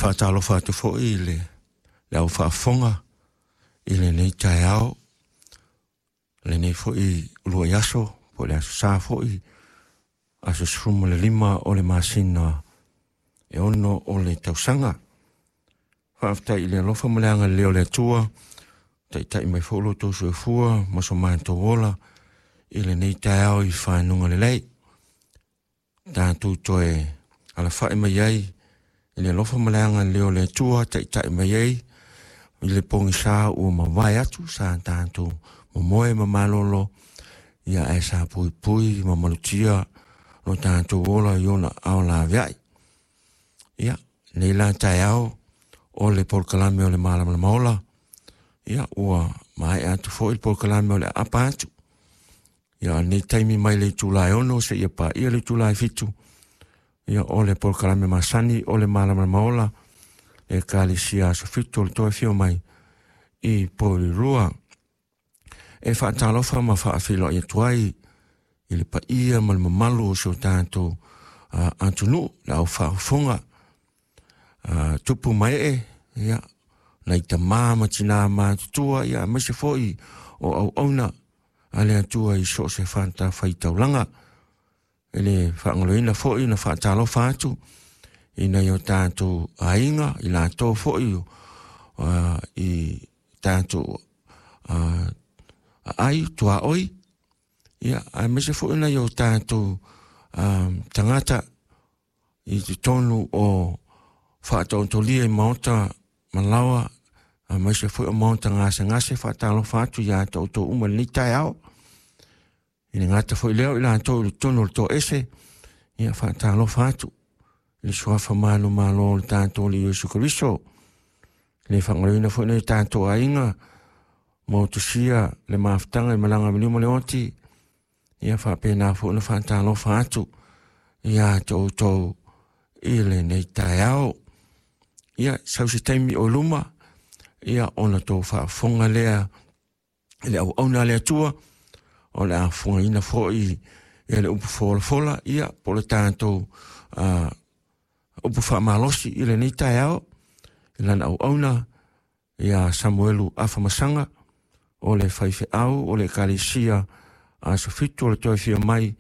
Faatalofa atu foi i le au faafofoga i lenei taeao, lenei foi uluai aso, po o le aso Sa foi, aso 15 o le masina e 6 o le tausaga. Faafetai i le alofa ma le agalelei o le Atua, taitai mai foi lo outou soifua ma so matou ola i lenei taeao i fanuga lelei. Tatou toe alafai mai ai i le alofa ma le agalelei o le Atua, taitai mai ai i le pogisa ua mavae atu sa tatou momoe ma malolo, ia ae sa puipui ma malutia lo tatou ola i ona ao laveai. Ia, nei la taeao o le polokalame o le Malamalama Ola, ia ua maea atu foi le polokalame o le aapa atu. Ia, o lenei taimi mai le itula e 6 seia paia le itula e 7, ia o le polokalame masani o le Malamalama Ola, Ekalesia Aso Fitu o le Toe Afio Mai i Porirua. E faatalofa ma faafeiloai atu ai i le paia ma le mamalu o si o tatou atunuu, le au faafofoga, tupu ma ee, ia, nai tamā ma tinā matutua, ia aemaise foi o auauna a le Atua i so o se fatafaitaulaga. E le faagaloina foi na faatalofa atu i nai o tatou aiga, i latou foi i tatou aai tuaoi, ia aemaise foi nai o tatou tagata i totonu o faataotolia i maota malaoa, aemaise foi o maota gasegase. Faatalofa atu ia te outou uma i lenei taeao. I le gata foi lea o i latou i totonu o le toese, ia faatalofa atu i le suafa manumalo o le tatou Alii Iesu Keriso. Le faagaloina foi nai o tatou aiga motusia le mafutaga i malaga miliu ma le oti, ia faapena foi ona faatalofa atu ia te outou i lenei taeao. Ia sau se taimi o luma, ia ona tou faafofoga lea i le auauna a le Atua, o le a fofogaina foi ia le upu folafola, ia po o le tatou upu faamalosi i lenei taeao, i lana auauna ia Samuelu Afamasaga, o le faifeau o le Ekalesia Aso Fitu o le Toe Afio Mai